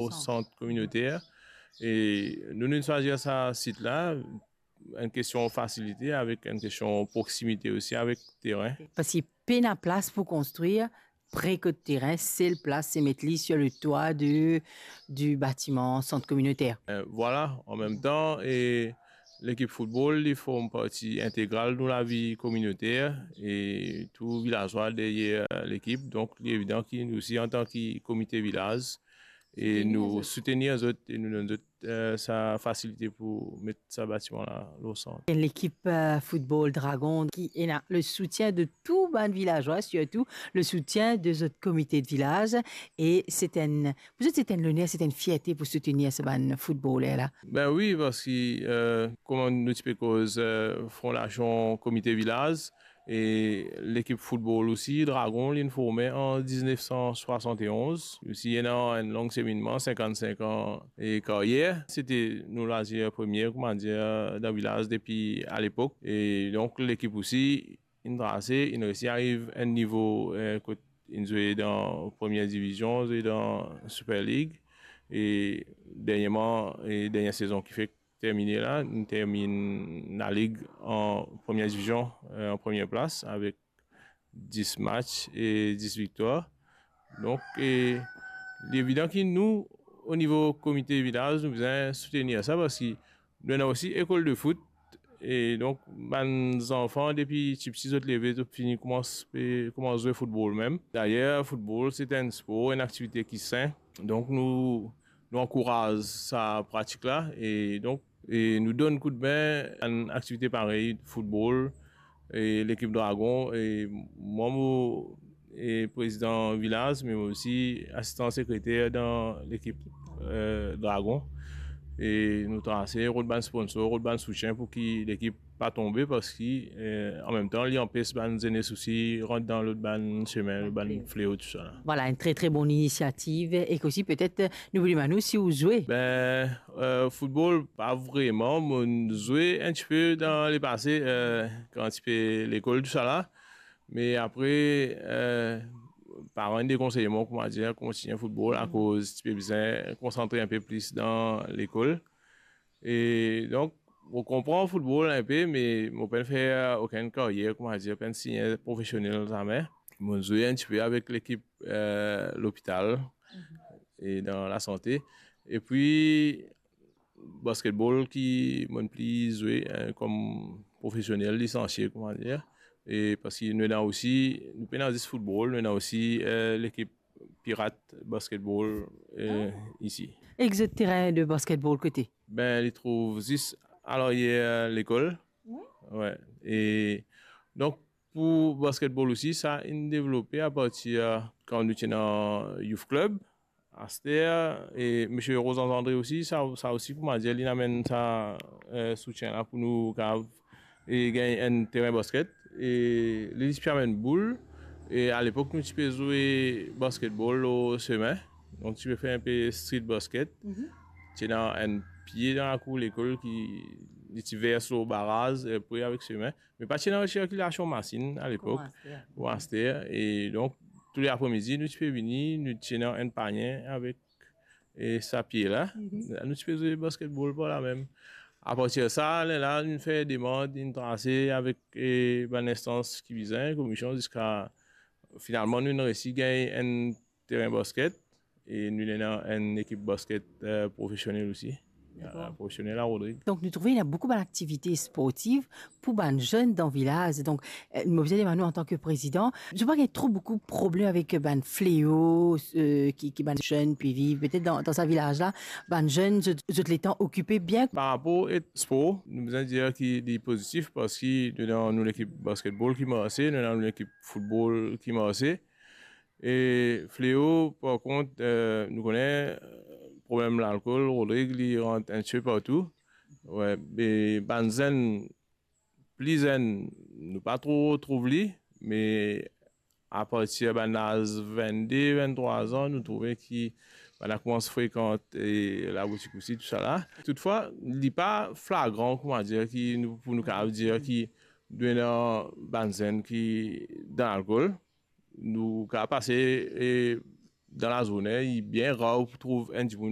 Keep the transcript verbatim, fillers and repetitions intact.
o sant kominoter. E nou, nou swazir sa sit la, enn kestion fasilite, avek enn kestion proksimite osi avek terin. Parski pena plas pou konstrir pre kot terin, sel plas se met li sur le toit de, du batiman sant kominoter. Euh, vwala, an mem tan, e lekip foutbol, li form parti integral dan lavi kominoter, e tou vilazwa deryer lekip. Donk, li evidan ki nou osi, antan ki komite vilaz, e nou soutenir zot, e nou donn zot, euh, sa fasilite pou met sa batiman la lor sant. Enn lekip, euh, foutbol Dragon ki ena le soutien de tou bann vilazwa, sirtou le soutien de zot komite de vilaz. E se enn, pou zot, se enn loner, se enn fierte pou soutenir sa bann foutboler la. Ben wi, parski, euh, kouma nou ti pe koz, euh, fondasion komite vilaz, e lekip foutbol osi, Dragon, li inn forme an diznef san swasant e onz. Osi, ena enn long seminnman, sinkant-sink an e karyer. Sete nou lazir premie, kouma dir, dan vilaz depi alepok. E donk, lekip osi inn trase, inn resi ariv enn nivo, eh, kot inn zwe dan premie divizion, zwe dan Super League. E dernierman, e dernie sezon ki fek termine la, nou terminn lalig an premie divizion, eh, an premie plas avek dis match e dis viktwar. Donk, e, li evidan ki nou, o nivo komite vilaz, nou bizin soutenir sa, parski nou ena osi lekol de foot. E donk, bann zanfan, depi tipti, zot leve, zot fini koumans, pe koumans zwe foutbol mem. Dayer, foutbol, se enn spor, enn aktivite ki sin. Donk, nou, nou ankouraz sa pratik la. E donk, e nou donn koudme enn aktivite parey foutbol, e lekip Dragon, e mwa mo, e prezidan vilaz, me mo osi asistan sekreter dan lekip, eh, Dragon. E nou trase, rod bann sponsor, rod bann soutien pou ki lekip pa tonbe, parski, eh, an mem tan, li anpes bann zenes osi rant dan lot bann semin, lot bann fleo, tousala. Vwala, enn tre, tre bon inisiativ. E osi, petet, nou pou demann ou si ou zwe. Ben, eh, foutbol, pa vreman. Mo zwe enn tipe dan lepase, eh, kan ti pe lekol, tousala. Me apre, eh, paran dekonsey mwa, kouma dir, kontign foutbol, akoz ti pe bizin konsantre enpe plis dan lekol. E donk, mo konpran foutbol enpe, me mo pa'nn fer okenn karyer, kouma dir, pa'nn sign profesionel zame. Mo zwe enn tipe avek lekip, eh, lopital e dan lasante. Epi, basketbol ki mo'nn pli zwe, eh, kom profesionel, lisansie, kouma dir. E parski nou ena osi, nou pena zis foutbol, nou ena osi, eh, lekip Pirat basketbol, eh, isi. E zot terin de basketbol kote? Ben, li trouv zis alaryer lekol. Wi. Wi. E donk, pou basketbol osi, sa inn devlope apartir kan nou ti ena youth club. Aster, e misie Rozans Andre osi, sa, sa osi, kouma dir, li amenn sa, eh, soutien la pou nou kav, e gagn enn terin basket. E li, li ti pe amenn boul. E alepok, nou ti pe zwe basketbol lor semin. Donk, ti pe fer enpe street basket. Ti ena enn pie dan lakour lekol ki li ti vers lor baraz, e pre avek semin. Me pa ti ena sirkilasion masinn alepok. Kouma aster. Kouma aster. E donk, tou le apremidi, nou ti pe vini, nou ti ena enn panie avek, e, sa pie la. Nou ti pe zwe basketbol par la mem. Apartir sa, lerla, nou fer demann, nou trase avek, e, bann instans ki bizin, komision, ziska finalman, nou resi gagn enn terin basket. E nou ena enn ekip basket, eh, profesionel osi. Dakor. Eh, profesionel a Rodrig. Donk, nou trouve ena boukou bann aktivite sportiv pou bann zenn dan vilaz. Donk, eh, mo bizin demann ou, antan ki prezidan, zot pa gagn tro boukou problem avek bann fleo, eh, ki, ki bann zenn pe viv, petet dan, dan sa vilaz la, bann zenn, zot, zot letan okipe bien? Par rapor ek spor, nou bizin dir ki li pozitif, parski nou ena nou lekip basketbol ki marse, nou ena nou lekip foutbol ki marse. E fleo, par kont, eh, nou kone, eh, problem lalkol, Rodrig, li rant enn tipe partou. Wi, me bann zenn, pli zenn, nou pa tro trouv li, me apartir bann laz vennde, venntrwa an, nou trouve ki bann la koumans frekant, e, laboutik osi, tousala. Toutfwa, li pa flagran, kouma dir, ki nou, pou nou kapav dir ki nou ena bann zenn ki dan lalkol. Nou kapav pase, e, Dan lazourne, li bien rar pou trouv enn dimoun